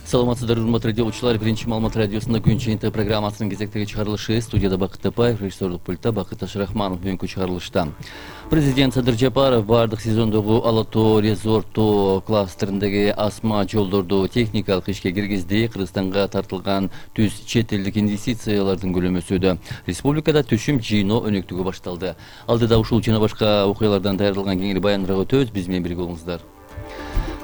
Саламатсыздар, урматтуу радиочулар. Биринчи Маалымат радиосунда күн чыйынтыгы программасынын кезектеги чыгарылышы. Студияда Бакыт Тапаев, режиссерлук пультта Бакыт Ашрахманов. Бүгүнкү чыгарылышта президент Садыр Жапаров бардык сезондогу Ала Тоо резорт кластериндеги асма жолдорду техникалык ишке киргизди. Кыргызстанга тартылган түз чет элдик инвестициялардын көлөмү өсүүдө. Республикада түшүм жыйноо өнөктүгү башталды. Алдыда ушул жана башка окуялардан даярдалган кеңири баяндырууга өтөбүз. Биз менен бирге болуңуздар.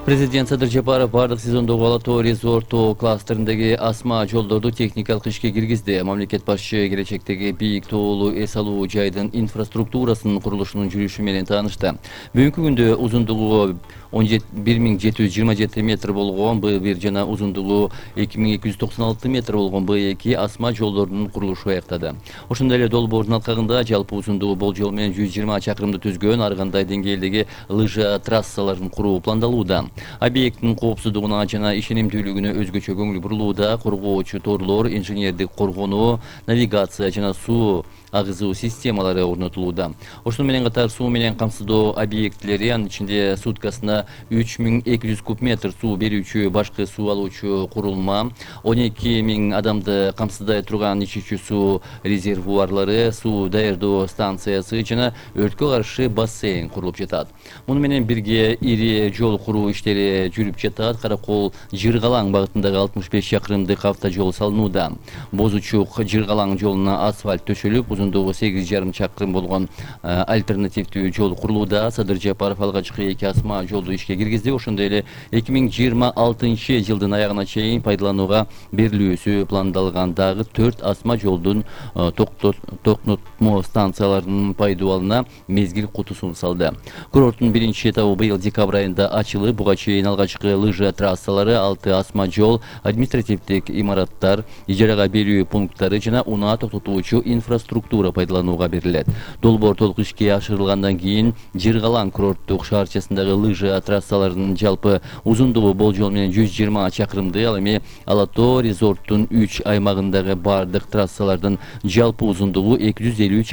Президент Садыр Жапаров бардык сезондогу Ала Тоо резорт кластериндеги асма жолдорду техникалык ишке киргизди. Мамлекет башчы келечектеги бийик тоолуу эс алуу жайдын инфраструктурасынын курулушунун жүрүшү менен таанышты. Бүгүнкү күндө узундугу 1727 метр болгон Б1 жана узундугу 2296 метр болгон Б2 асма жолдордун курулушу аяктады. Ошондой эле долбоордун алкагында жалпы узундугу болжол менен 120 чакырымды түзгөн ар кандай деңгээлдеги лыжа трассаларын куруу пландалууда. Объекттин коопсуздугуна жана ишенимдүүлүгүнө өзгөчө көңүл бурулууда. Коргоочу торлор, инженердик коргонуу, навигация жана суу агызуу системалары орнотулууда. Ошону менен катар суу менен камсыздоо объектилери, анын ичинде суткасына 3200 куб метр суу берүүчү башкы суу алуучу курулма, 12000 адамды камсыздай турган ичүүчү суу резервуарлары, суу даярдоо станциясы жана өрткө каршы бассейн курулуп жатат. Муну менен бирге ири жол куруу иштери жүрүп жатат. Каракол Жыргалаң багытындагы 65 чакырымдык автожол салынууда. Бозучук Жыргалаң жолуна асфальт төшөлүп, узундугу 8,5 чакырым болгон альтернативдүү жол курулууда. Садыр Жапаров алгачкы 2 асма жолду ишке киргизди. Ошондой эле 2026 жылдын аягына чейин пайдаланууга берилүүсү пландалган дагы 4 асма жолдун токтотмо станцияларынын пайдаланууна мезгил кутусун салды. Курорттун биринчи этабы быйыл декабрь айында ачылып, буга чейин алгачкы лыжа трассалары, 6 асма жол, административдик имараттар, ижарага берүү пункттары жана унаа токтотуучу инфраструктура пайдаланууга берилет. Долбоор толук ишке ашырылгандан кийин Жыргалаң курорттук шаарчасындагы лыжа трассаларынын жалпы узундугу болжол менен 120 чакырымды, ал эми Ала Тоо резорттун 3 аймагындагы бардык трассалардын жалпы узундугу 250